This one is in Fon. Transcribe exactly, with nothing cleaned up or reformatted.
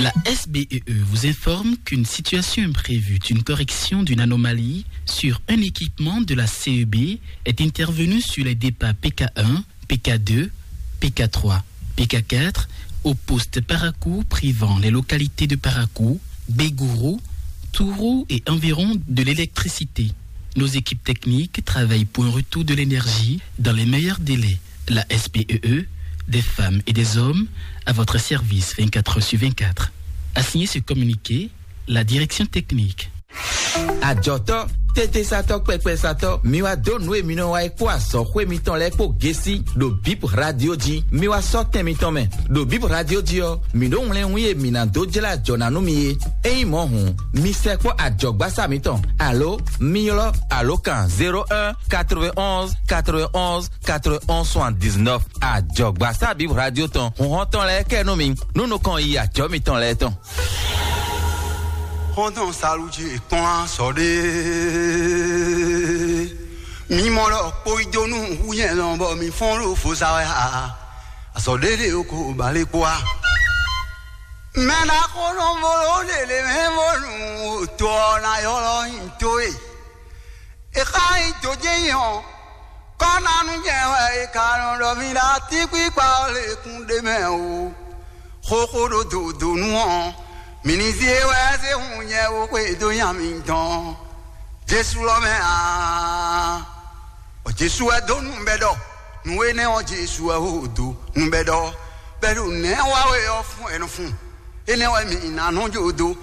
La S B E E vous informe qu'une situation imprévue d'une correction d'une anomalie sur un équipement de la C E B est intervenue sur les départs P K un, P K deux, P K trois, P K quatre au poste Parakou, privant les localités de Parakou, Bégourou, Tourou et environ de l'électricité. Nos équipes techniques travaillent pour un retour de l'énergie dans les meilleurs délais. La S B E E, des femmes et des hommes à votre service vingt-quatre heures sur vingt-quatre. A signé ce communiqué la direction technique. Àjɔtɔ́, tétésatɔ́, kpɛkpɛsatɔ́, mi wá dó nǔ e mi nɔ wa é kpó azɔ̌xwé mitɔn lɛ́ɛ kpó gésí ɖo Bip Radio jí. Mi wá sɔ́ tɛn mitɔn mɛ ɖo Bip Radio jí ɔ́, mǐ ɖó wlɛ́nwún e mǐ ná dó jlá ajɔ̌ ná nú mi é. Ényí mɔ̌ hǔn, mi sɛkpɔ́ ajɔ̌gbásá mitɔn, alo mi ylɔ́ alǒkan zéro un quatre-vingt-onze quatre-vingt-onze quatre-vingt-onze soixante-dix-neuf. Ajɔ̌gbásá Bip Radio tɔn, hǔnhɔ́n tɔn lɛ́ɛ kɛ nú mi, nú nukɔn yi ajɔ̌ mitɔn lɛ́ɛ tɔn. Xɔ́ntɔn Salu ce kpɔ́n azɔ̌ ɖé. Mi mɔ ɖɔ kpoyídonu hu nyɛ lɔn bɔ mi fɔ́n ɖo fo sa wɛ a? Azɔ̌ ɖé ɖe o ko ba lé kpó a? Mɛ ɖaxó nɔ bo ɖo ɖeɖe mɛ bónú to ɔ́ ná ylɔ́ nyi towe. E xa yi dǒ jɛ nyi ɔ́, kɔ́ ná nú nyɛ wɛ e ka nɔ ɖɔ mi ɖo atínkpikpa ɔ́ lě kún ɖ'é mɛ o. Xóxó ɖo dǒdǒnú ɔ́, mi ní zé wɛ zé hun nyɛ ó xwedó nya mitɔn Jesu lɔ mɛ ǎ. Bɔ Jesu wɛ dó nú bɛ ɖɔ nǔ énɛ́ ɔ́ Jesu wɛ ó dó nú bɛ ɖɔ bɛ ɖo nɛ̌ wa wɛ ɔ́ fún ɛ nɔ fún. Énɛ́ wɛ mi ná nɔ jó dó